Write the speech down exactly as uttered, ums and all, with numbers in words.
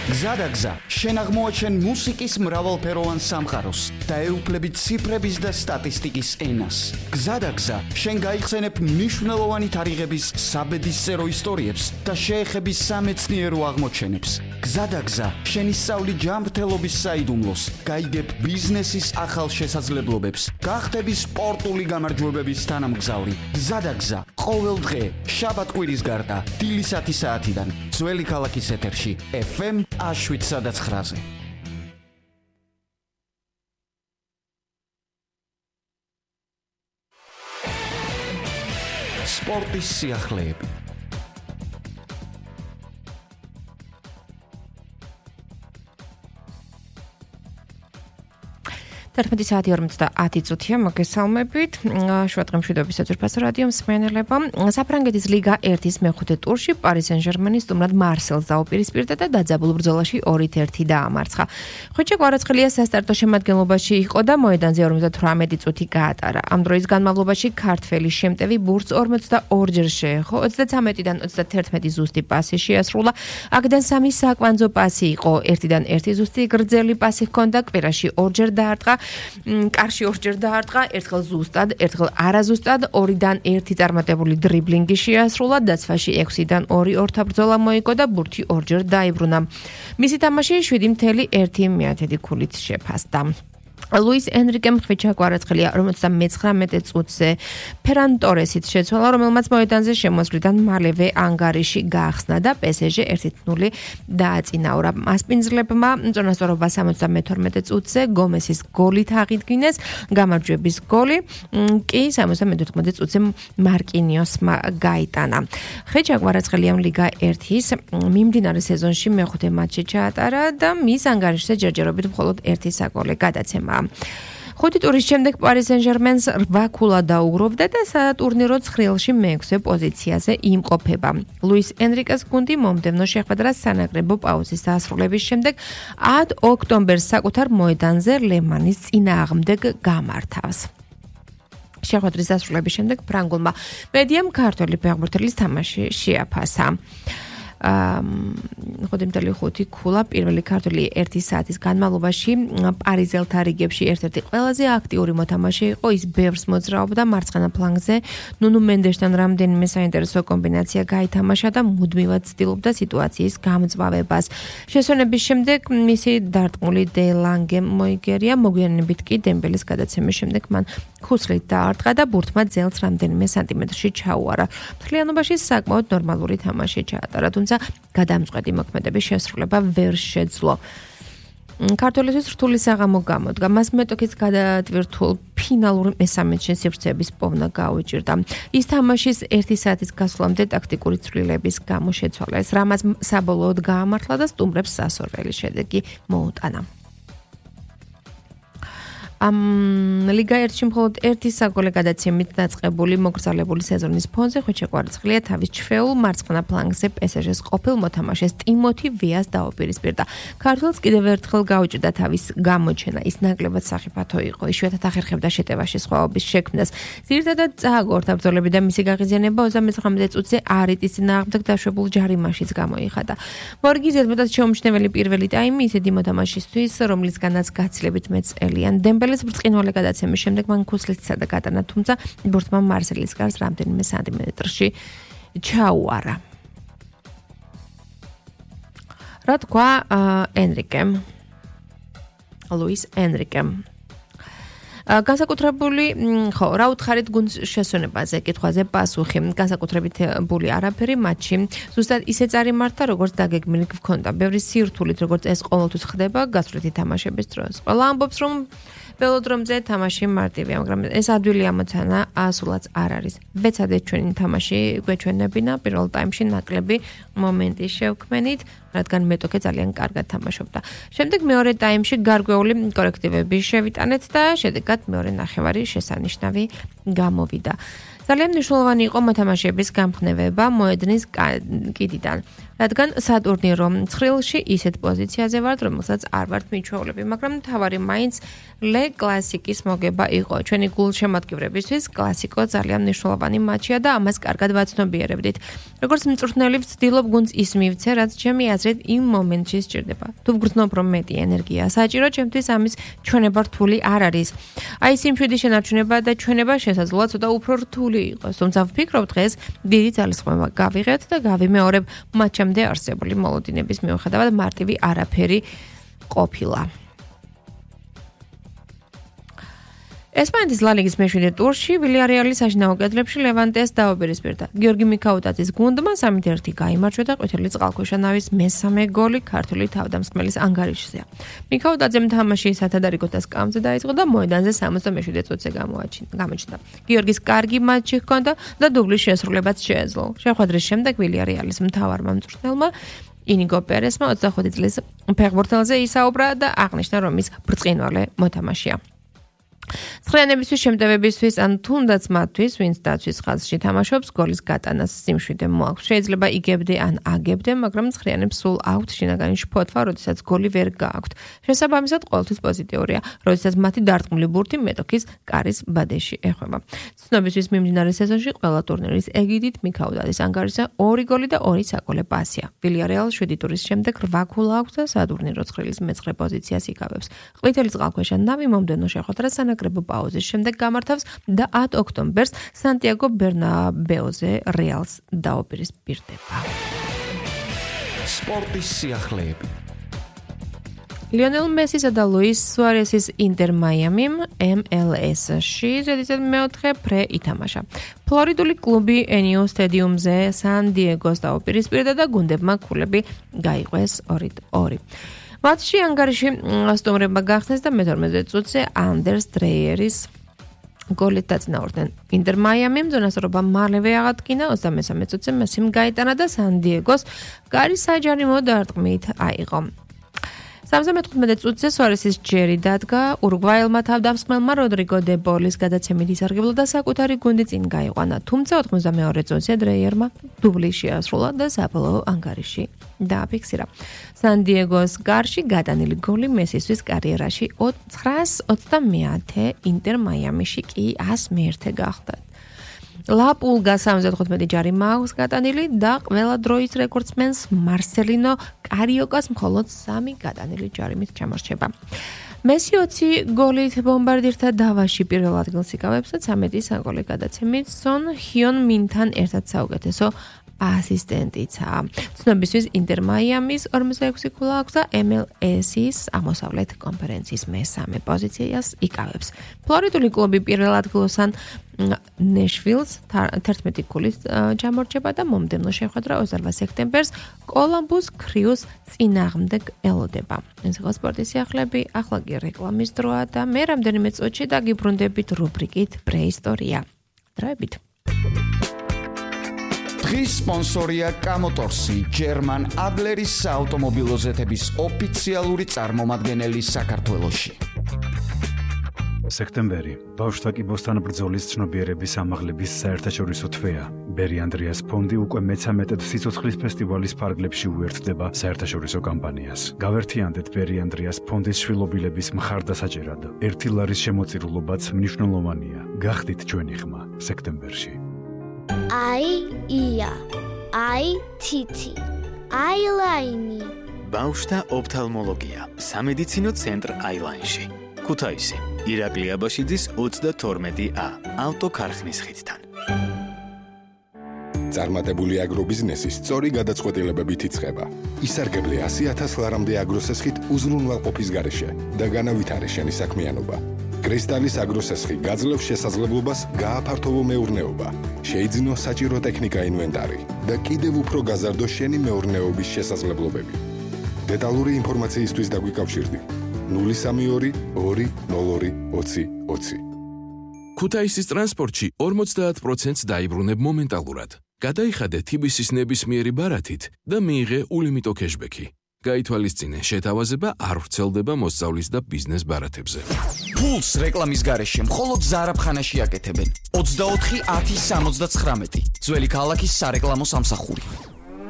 გზადაგზა, შენ აღმოაჩენ მუსიკის მრავალფეროვან სამყაროს და ეუფლები ციფრების და სტატისტიკის ენას. გზადაგზა, შენ გაიხსენებ მნიშვნელოვანი თარიღების საბედისწერო ისტორიებს და შეეხები სამეცნიერო აღმოჩენებს. გზადაგზა, შენ ისწავლი ჯანმრთელობის საიდუმლოს, გაიგებ ბიზნესის ახალ შესაძლებლობებს, გახდები სპორტული გამარჯვებების თანამგზავრი. გზადაგზა, ყოველ დღე, შაბათ-კვირის გარდა, დილისათი საათიდან, ძველი ქალაქის ეთერში, ეფ ემ შვიდსა და ცხრაზე. სპორტის სიახლეები. თერთმეტი საათი ორმოცდაათი წუთია მოგესალმებით. შუადღე მშვიდობის საძირფასო რადიო მსმენელება. საფრანგეთის ლიგა ერთის მეხუთე ტურში პარი სენ-ჟერმენი სტუმრად მარსელს დაუპირისპირდა და დაძაბულ ბრძოლაში ორით ერთი დაამარცხა. ხვიჩე კვარაცხელია სასტარტო შემადგენლობაში იყო და მოედანზე ორმოცდათვრამეტი წუთი გაატარა. ამ დროის განმავლობაში ქართველი შემტევი ბურთს ორმოცდაორჯერ შეეხო, ოცდათერთმეტიდან ოცდათერთმეტი ზუსტი პასი შეასრულა. აქედან სამი საკვანძო პასი იყო, ერთიდან ერთი ზუსტი გრძელი პასი ჰქონდა, კვირაში ორჯერ დაარტყა. კარში ორჯერ დაარტყა, ერთხელ ზუსტად, ერთხელ არაზუსტად, ორიდან ერთი წარმატებული დრიბლინგი შეასრულა, დაცვაში ექვსიდან ორი ორთაბრძოლა მოიგო და ბურთი ორჯერ დაიბრუნა. მისი თამაში შვიდი მცდე ერთი მეათედი ქულით შეფასდა. ლუის ენრიკემ ხვიჩა კვარაცხელია ორმოცდამეცხრამეტე წუთზე ფერან ტორესით შეცვალა, რომელმაც მოედანზე შემოსვლიდან მალევე ანგარიში გაახსნა და პე ეს ჟე ერთი ნული დააწინაურა. მასპინძლებმა წონასწორობა სამოცდამეთორმეტე წუთზე გომესის გოლით აღიდგინეს, გამარჯვების გოლი კი სამოცდამეთოთხმეტე წუთზე მარკინიოსმა გაიტანა. ხვიჩა კვარაცხელიამ ლიგა ერთის მიმდინარე სეზონში მეხუთე მატჩი ჩაატარა და მის ანგარიშზე ჯერჯერობით მხოლოდ ერთი საგოლე გადაცემა. ხუთი ტურის შემდეგ პარი სენ-ჟერმენს რვა ქულა დაუგროვდა და სატურნირო ცხრილში მეექვსე პოზიციაზე იმყოფება. ლუის ენრიკეს გუნდი მომდევნო შეხვედრა სანაკრებო პაუზის დასრულების შემდეგ ათ ოქტომბერს საკუთარ მოედანზე ლემანის წინააღმდეგ გამართავს. შეხვედრის დასრულების შემდეგ ფრანგულმა მედიამ ქართველი ფეხბურთელის თამაში შეაფასა. ხუთი ხუთი ქულა პირველი ქართული ერთი საათის განმავლობაში პარიზელთა რიგებში ერთ-ერთი ყველაზე აქტიური მოთამაშე იყო. ის ბევრს მოძრაობდა მარცხენა ფლანგზე, ნუნუ მენდესთან რამდენიმე საინტერესო კომბინაცია გაითამაშა და მუდმივად ცდილობდა სიტუაციის გამწვავებას. შესვენების შემდეგ მისი დარტყმული დე ლანგე მოიგერია, მოგვიანებით კი დემბელის გადაცემის შემდეგ მან ქუსლით დაარტყა და ბურთმა ძელს რამდენიმე სანტიმეტრში ჩაუარა. მთლიანობაში საკმაოდ ნორმალური თამაში ჩაატარა, თუმცა გადამწყვეტი მოქმედების შესრულება ვერ შეძლო. ქართველისთვის რთული საღამო გამოდგა. მას მეტოქის გადატვირთულ ფინალურ მესამედში სივრცეების პოვნა გაუჭირდა. ის თამაშის ერთი საათის გასვლამდე ტაქტიკური ცვლილების გამო შეცვალეს, რამაც საბოლოოდ გაამართლა და სტუმრებს სასურველი შედეგი მოუტანა. ამ ლიგა ერთში მხოლოდ ერთი საგოლე გადაცემით დაწყებული მოგრძალებული სეზონის ფონზე ხვიჩა კვარაცხელია თავის ჩვეულ მარცხენა ფლანგზე პე ეს ჟეს ყოფილ მოთამაშეს ტიმოთი ვიას დაუპირისპირდა. ქართველს კიდევ ერთხელ გაუჭირდა თავის გამოჩენა. ის ნაკლებად სახიფათო იყო, იშვიათად ახერხებდა შეტევაში სხვაობის შექმნას. ძირითადად წააგორთა ბრძოლები და მისი გაღიზიანება ოცდამეცხრამეტე წუთზე არიტის წინააღმდეგ დაშვებულ ჯარიმაშიც გამოიხადა. მორგი ზედმეტად შეუმჩნეველი პირველი ტაიმი ისეთი მოთამაშისთვის, რომლისგანაც გაცილებით მეწელიან დემბელეს ბრწყინვალე გადაცემის შემდეგ მან ქუსლით სცადა გატანა, თუმცა ბურთმა მარსელის გარს რამდენიმე სანტიმეტრში ჩაუარა. რა თქვა ენრიკემ? ლუის ენრიკემ განსაკუთრებული, ხო, რა უთხარით გუნდს შესვენებაზე კითხვაზე პასუხი. განსაკუთრებით ბული არაფერი მატჩი ზუსტად ისე წარიმართა, როგორც დაგეგმილი გქონდა. ბევრი სირთულით, როგორც ეს ყოველთვის ხდება გასვლითი თამაშების დროს. ყველა ამბობს, რომ ველოდრომზე თამაში მარტივია, მაგრამ ეს ადვილი ამოცანა ასულაც არ არის. ვეცადეთ ჩვენი თამაში გვეჩვენებინა პირველ ტაიმში ნაკლები მომენტი შევქმენით, რადგან მეტოქე ძალიან კარგად თამაშობდა. შემდეგ მეორე ტაიმში გარკვეული კორექტივები შევიტანეთ და შედეგად მეორე ნახევარი შესანიშნავი გამოვიდა. ძალიან მნიშვნელოვანი იყო მოთამაშეების გამხნევება მოედნის კიდიდან. რადგან სატურნი რომ ცხრილში ისეთ პოზიციაზე ვართ, რომელსაც არ ვართ მიჩვეულები, მაგრამ თავარი მაინც ლე კლასიკის მოგება იყო. ჩვენი გულშემატკივრებისთვის კლასიკო ძალიან მნიშვნელოვანი მატჩია და ამას კარგად ვაცნობიერებდით. როგორც მწვრთნელი ვცდილობ გუნდს ის მივცე, რაც ჩემი აზრით იმ მომენტში სჭირდება. თუ ვგრძნობ, რომ მეტი ენერგია საჭირო, ჩემთვის ამის ჩვენება რთული არ არის. აი სიმშვიდის შენარჩუნება და ჩვენება შესაძლოა ცოტა უფრო რთული იყოს, თუმცა ვფიქრობ დღეს დიდი ძალისხმევა გავიღეთ და გავიმეორებ მატჩამდე არსებული მოლოდინების მიუხედავად მარტივი არაფერი ყოფილა. ესპანეთის ლა ლიგის მეშვიდე ტურში ვილიარეალის საშინაო კედლებში ლევანტეს დაუპირისპირდა. გიორგი მიქაუტაძის გუნდმა სამით ერთი გაიმარჯვა და ყვითელი წყალქვეშა ნავის მესამე გოლი ქართული თავდამსხმელის ანგარიშზეა. მიქაუტაძემ თამაში სათადარიგოთა სკამზე დაიწყო და მოედანზე სამოცდამეშვიდე წუთზე გამოჩნდა. გიორგის კარგი მატჩი ჰქონდა და დუბლის შესრულებაც შეეძლო. შეხვედრის შემდეგ ვილიარეალის მთავარმა მწვრთნელმა ინიგო პერესმა ოცდახუთი წლის ფეხბურთელზე ისაუბრა და აღნიშნა, რომ ის ბრწყინვალე მოთამაშეა. ცხრიანებისთვის შემტევებისთვის ან თუნდაც მათთვის, ვინც დაცვის ხაზში თამაშობს, გოლის გატანას სიმშვიდე მოაქვს. შეიძლება იგებდე ან აგებდე, მაგრამ ცხრიანებს სულ აქვთ შინაგანი შფოთვა, როდესაც გოლი ვერ გააქვთ. შესაბამისად, ყოველთვის პოზიტიურია, როდესაც მათი დარტყმული ბურთი მეტოქის კარის ბადეში ეხვევა. ცნობისთვის მიმდინარე სეზონში ყველა ტურნირის ეგიდით მიქაუტაძის ანგარიშზე ორი გოლი და ორი საგოლე პასია. ვილიარეალ შვიდი ტურის შემდეგ რვა ქულა აქვს და სატურნირო ცხრილის მეცხრე პოზიციას იკავებს. ყვითელი წყალქვეშა ნავი მომდევნო შეხვედრას სანაკრებო პაუზის შემდეგ გამართავს და ათ ოქტომბერს სანტიაგო ბერნაბეუზე რეალს დაუპირისპირდება. სპორტის სიახლეები. ლიონელ მესისა და ლუის სუარესის ინტერ მაიამიმ ემ ელ ეს-ში ზედიზედ მეოთხე ფრე ითამაშა. ფლორიდული კლუბი ენიო სტადიუმზე სან დიეგოს დაუპირისპირდა და გუნდებმა ქულები გაიყვეს ორი ორი. მატჩში ანგარიში სტუმრებმა გახსნეს და მეთორმეტე წუთზე ანდერს დრეიერის გოლით დაწინაურდნენ. ინტერ მაიამიმ ზონასწორობა მალევე აღადგინა, ოცდამესამე წუთზე მესიმ გაიტანა და სან დიეგოს კარი საჯარიმო დარტყმით აიღო. სამსამეთყმეტე წუთზე სუარესის ჯერი დადგა ურუგვაელმა თავდამსხმელმა როდრიგო დე ბოლის გადაცემით ისარგებლა და საკუთარი გუნდი წინ გაიყვანა, თუმცა ოთხმოცდამეორე წუთზე დრეიერმა დუბლი შეასრულა და საბოლოო ანგარიში დააფიქსირა. სან დიეგოს გარში გადანილი გოლი მესისთვის კარიერაში ცხრაას ოცდამეათე, ინტერ მაიამიში კი ას მეერთე გახდა. ლა პულგა სამოცდათხუთმეტი ჯარი მაქვს გატანილი და ყველა დროის რეკორდსმენს მარსელინო კარიოკას მხოლოდ სამი გატანილი ჯარიმით ჩამორჩება. მესი ოცი გოლით ბომბარდირთა დავაში პირველ ადგილს იკავებს და ცამეტი საგოლე გადაცემით სონ ჰიონ მინთან ერთად საუკეთესო ასისტენტიცაა. ცნობისთვის ინტერ მაიამის ორმოცდაექვსი ქულა აქვს და ემ ელ ეს-ის აღმოსავლეთ კონფერენციის მესამე პოზიციას იკავებს. ფლორიდული კლუბი პირველ ადგილოსან ნეშვილს თერთმეტი ქულით ჩამორჩება და მომდევნო შეხვედრა ოცდარვა სექტემბერს კოლუმბუს ქრიუს წინააღმდეგ ელოდება. ეს იყო სპორტის სიახლეები, ახლა კი რეკლამის დროა და მე რამდენიმე წუთში დაგიბრუნდებით რუბრიკით პრეისტორია. დროებით. დღის სპონსორია კამოტორსი, ჯერმან ადლერის საავტომობილო ზეთების ოფიციალური წარმომადგენელი საქართველოში. სექტემბერი ბავშვთა კიბოსთან ბრძოლის ცნობიერების ამაღლების საერთაშორისო თვეა. ბერი ანდრიას ფონდი უკვე მეცამეტედ სიცოცხლის ფესტივალის ფარგლებში უერთდება საერთაშორისო კამპანიას. გავერთიანდეთ ბერი ანდრიას ფონდის შვილობილების მხარდასაჭერად. ერთი ლარის შემოწირულობაც მნიშვნელოვანია. გახდით ჩვენი ხმა სექტემბერში. აი ია, აი თითი, აილაინი. ბავშვთა ოფთალმოლოგია, სამედიცინო ცენტრ აილაინში. ქუთაისი, ირაკლი აბაშიძის ოცდათორმეტი ა, ავტოქარხნის ხიდთან. წარმატებული აგრობიზნესი სწორი გადაწყვეტილებებით იწყება. ისარგებლე ასი ათას ლარამდე აგროსესხით უზრუნველყოფის გარეშე და განავითარე შენი საქმიანობა. კრისტალის აგროსესხი გაძლევს შესაძლებლობას გააფართოვო მეურნეობა, შეიძინო საჭირო ტექნიკა ინვენტარი და კიდევ უფრო გაზარდო შენი მეურნეობის შესაძლებლობები. დეტალური ინფორმაციისთვის დაგვიკავშირდი ნული სამი ორი ორი ნულ ორი ოცი ოცი. ქუთაისის ტრანსპორტში ორმოცდაათ პროცენტს დაიბრუნებ მომენტალურად. გადაიხადე თიბისის ნებისმიერი ბარათით და მიიღე ულიმიტო კეშბექი. გაითვალისწინე, შეთავაზება არ ვრცელდება მოსწავლის და ბიზნეს ბარათებზე. ფულს რეკლამის გარეშე მხოლოდ ზარაფხანაში აკეთებენ. ოცდაოთხი ათი სამოცდაცხრამეტი. ძველი ქალაქის სარეკლამო სამსახური.